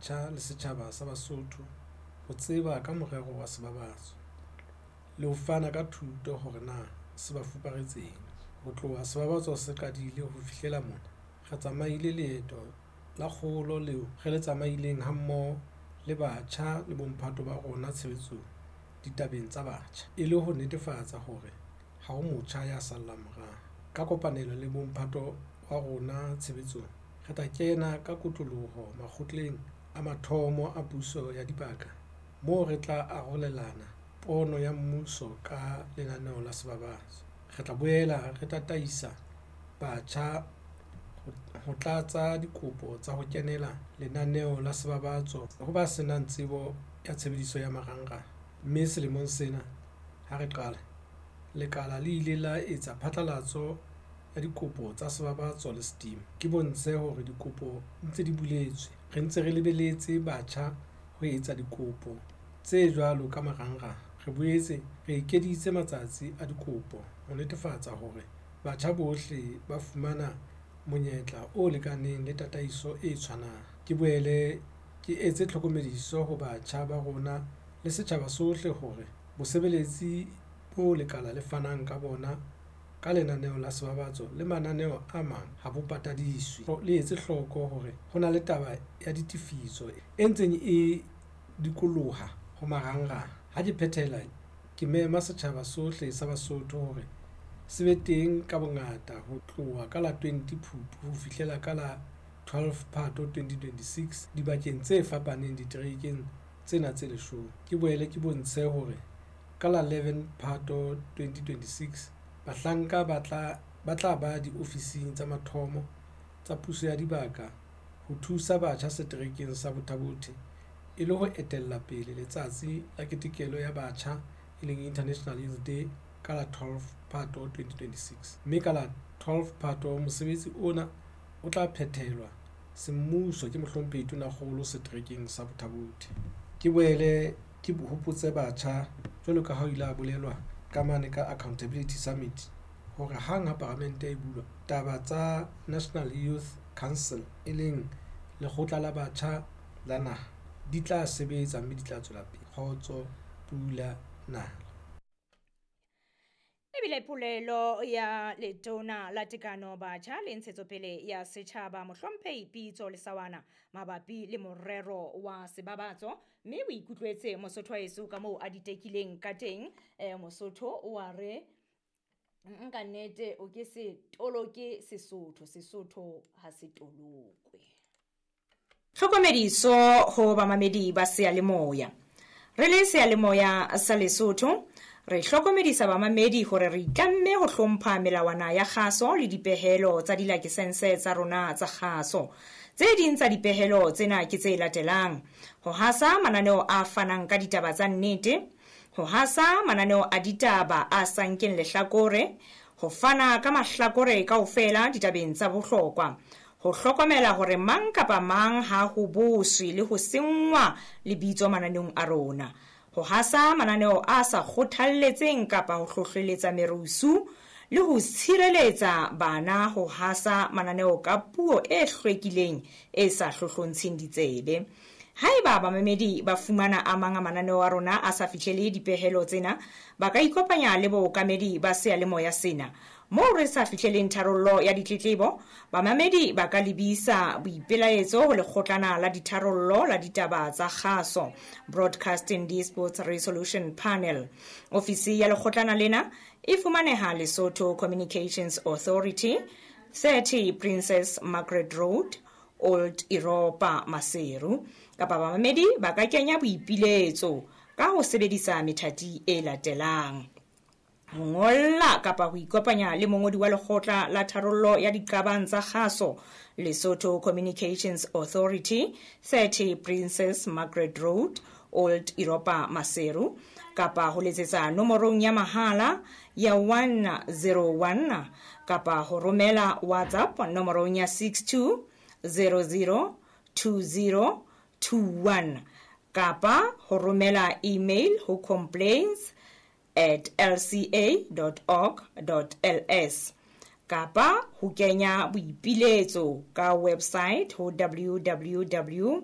batjha le setjhaba sa Basotho ho tseba ka morero wa Sebabatso le ho fana ka thuto hore na se ba fuparetseng. Ho tloha Sebabatso se qadile ho fihlela mona, re tsamaile leeto la kgolo leo re le tsamaileng hammoho le batjha le bomphato ba rona tshebetsong ditabeng tsa batjha, e le ho netefatsa hore ha ho motjha ya sallang morao. Ka kopanelo le bomphato wa rona tshebetsong, re tla kena ka kotloloho makgotleng a mathomo a puso ya dibaka moo re tla arolelana pono ya mmuso ka lenaneo la Sebabatso. Re tla boela re tataisa batjha ho tlatsa dikopo tsa ho kenela lenaneo la Sebabatso ho ba senang tsebo ya tshebediso ya marangrang. Mme selemong sena ha re qala, lekala le ile la etsa phatlalatso ya dikopo tsa Sebabatso le Steam. Ke bontshe hore dikopo ntse di buletswe. Re ntse re lebeletse batjha ho etsa dikopo tse jwalo ka marangrang. Re boetse re ekeditse matsatsi a dikopo ho netefatsa hore batjha bohle ba fumana monyetla o lekaneng le tataiso e tshwanang. Ke boele ke etse tlhokomediso ho batjha ba rona le setjhaba sohle hore bosebeletsi bo lekala le fanang ka bona ka lenaneo la Sebabatso le mananeo a mang ha bo patadiswe. Le etse hloko hore ho na le taba ya ditefiso e ntseng e dikoloha ho marangrang. Ha ke phethela, ke mema setjhaba sohle sa Basotho hore se be teng ka bongata ho tloha ka la 20 Phupu ho fihlela ka la 12 Phato 2026 dibakeng tse fapaneng diterekeng tsena tse leshome. Ke boele ke bontshe hore ka la 11 Phato 2026 bahlanka ba tla ba diofising tsa mathomo tsa puso ya dibaka ho thusa batjha seterekeng sa Botha-Bothe e le ho etella pele letsatsi la ketekelo ya batjha e leng International Youth Day ka la 12 Phato 2026. Mme ka la 12 Phato mosebetsi ona o tla phethelwa semmuso ke Mohlomphehi Tonakgolo seterekeng sa Botha-Bothe. Ke boele ke hopotse batjha jwalo ka ha ho ile ha bolelwa ka mane ka Accountability Summit hore hang ha paramente e bulwa, taba tsa National Youth Council e leng lekgotla la batjha la naha di tla sebetsa mme di tla tswela pele. Kgotso, pula, nala. Ebile polelo ya letona la tekano batjha le ntshetsopele ya setjhaba Mohlomphehi Pitso Lesawana mabapi le morero wa Sebabatso, mme o ikutlwetse Mosotho wa heso ka moo a ditekileng ka teng. Mosotho o a re nka nnete o ke se toloke Sesotho, Sesotho ha se tolokwe. Tlhokomediso ho bamamedi ba seyalemoya. Re le seyalemoya sa Lesotho, re hlokomedisa bamamedi hore re itlamme ho hlompha melawana ya kgaso le dipehelo tsa dilakesense tsa rona tsa kgaso. Tse ding tsa dipehelo tsena ke tse latelang: ho hasa mananeo a fanang ka ditaba tsa nnete, ho hasa mananeo a ditaba a sa nkeng lehlakore, ho fana ka mahlakore kaofela ditabeng tsa bohlokwa, ho hlokomela hore mang kapa mang ha ho boswe le ho senngwa lebitso mananeong a rona, ho hasa mananeo a sa kgothalletseng kapa ho hlohleletsa merusu, le ho tshireletsa bana ho hasa mananeo ka puo e hlwekileng e sa hlohlontsheng ditsebe. Haeba bamamedi ba fumana a mang a mananeo a rona a sa fihlele dipehelo tsena, ba ka ikopanya le bookamedi ba seyalemoya sena. Moo re sa fihleleng tharollo ya ditletlebo, bamamedi ba ka lebisa boipelaetso ho lekgotlana la ditharollo la ditaba tsa kgaso, Broadcasting Disputes Resolution Panel. Ofisi ya lekgotlana lena e fumaneha Lesotho Communications Authority, 30 Princess Margaret Road, Old Europa, Maseru. Kapa bamamedi ba ka kenya boipiletso ka ho sebedisa methati e latelang: ho ngolla kapa ho ikopanya le mongodi wa lekgotla la tharollo ya diqabang tsa kgaso, Lesotho Communications Authority, 30 Princess Margaret Road, Old Europa, Maseru, kapa ho letsetsa nomorong ya mahala ya 101, kapa ho romela WhatsApp nomorong ya 62002021, kapa ho romela email ho complaints@lca.org.ls, kapa ho kenya boipiletso ka website ho www.